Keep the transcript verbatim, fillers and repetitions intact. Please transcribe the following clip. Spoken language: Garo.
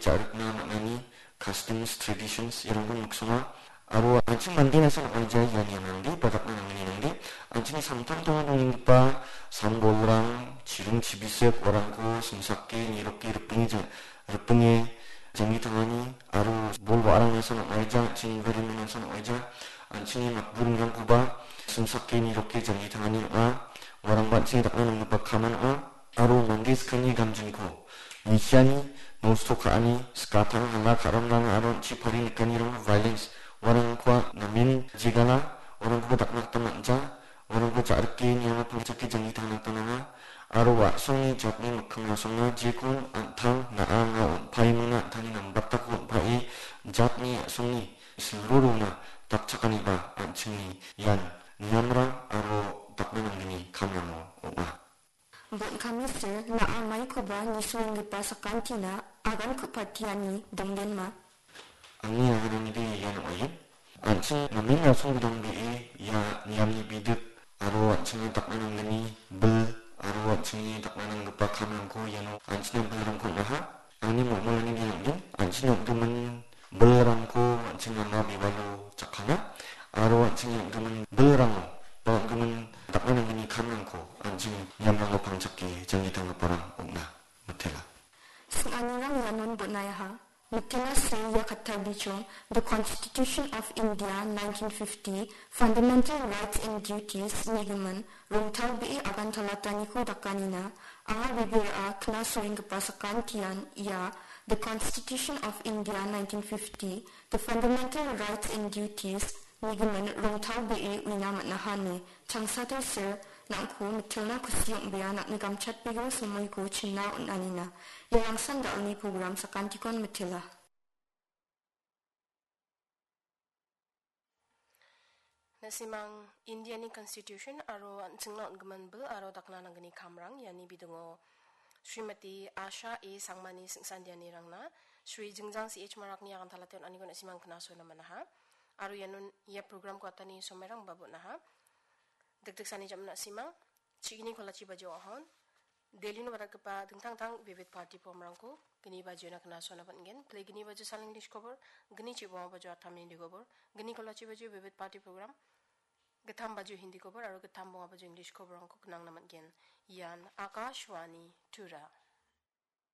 ja·rikna man·ani customs, traditions, iarangko miksonga. Aro an·ching mande nasa ong·aija iani mande, ba dakna nanggni mande. An·chingni samtangtango dongenggipa sambolrang, chiring chibisik, uarangko simsake, niroke, ripinge ja-, ripinge janggi tangani, aro bol wa·arang nasa ong·aija, an·ching gari nasa ong·aija, an·chingni matburingrangkoba simsake, niroke janggi tangani ong·a. Uarangba an·chingni dakna nanggipa kaman ong·a. Aro mande sakgni gamjinko nisiani, nosto ka·ani, skatang, hala ka·ramrang aro an·chi pari nikanirang violence, uarangkoa namen jegala, uarangkoba dakna gita man·ja, uarangko ja·rike niango pangchake janggi tangna gita nanga, aro wa·songni jatni mikkim rasongna jekon an·tang na·a anga on·paimona an·tangni nambatako on·pae jatni a·songni silrurona dakchakaniba an·chingni ian niamrang aro dakna nanggni kamrango ong·a. Bon·kame sir, na·a maikoba nisoenggipa sakantina agan ku·patiani dongdenma? Angni agananide ian ong·aien. An·ching namen rasong bidongbee ia niamni bidip aro an·chingni dakna nanggni bil aro an·chingni dakna nanggipa kamrangko iano an·chingna bilrangko on·aha. Angni mongmolani bia ong·gen, an·chingni ong·gimin bilrangko an·ching ama bibalo jakkana aro an·chingni ong·gimin bilrango ba ong·gimin dakna nanggni kamrangko an·ching niamrango pangchake janggi tanggiparang ong·na mitela. Sing·anirang ianon bon·aiaha. Mitela se ia kattarbichong, The Constitution of India nineteen fifty, Fundamental Rights and Duties nigimin rongtalbee agantalataniko dakanina, anga bibira knasoenggipa sakantian ia The Constitution of India nineteen fifty, The Fundamental Rights and Duties nigimin rongtalbee uina man·aha ine changsater sir nangko mitelna kusi ong·bea nangni gamchatbegio somoiko chingna on·anina. Iarangsan da·alni program sakantikon mitela. Na·simang Indiani Constitution aro an·chingna on·gimin bil aro dakna nanggni kamrang iani bidingo Srimati Asha A Sangmani singsandianirangna Shri Jingjang C H Marakni agantalate on·aniko na·simang knasona man·aha. Aro ianon ia programko atani somairangba bon·aha. Dikdiksani jam·na simang, chigini kolachi bajao ahon, Delhino badatgipa dingtang dingtang Vivid Bharati programrangko gni bajiona knasona man·gen. Pele gni bajio saleng English kobor, gni chibonga bajio atam Hindi kobor, gni kolachi bajio Vivid Bharati program, gittam bajio Hindi kobor, aro gittam bonga bajio English koborrangko knangna man·gen. Ian Akashvani Tura.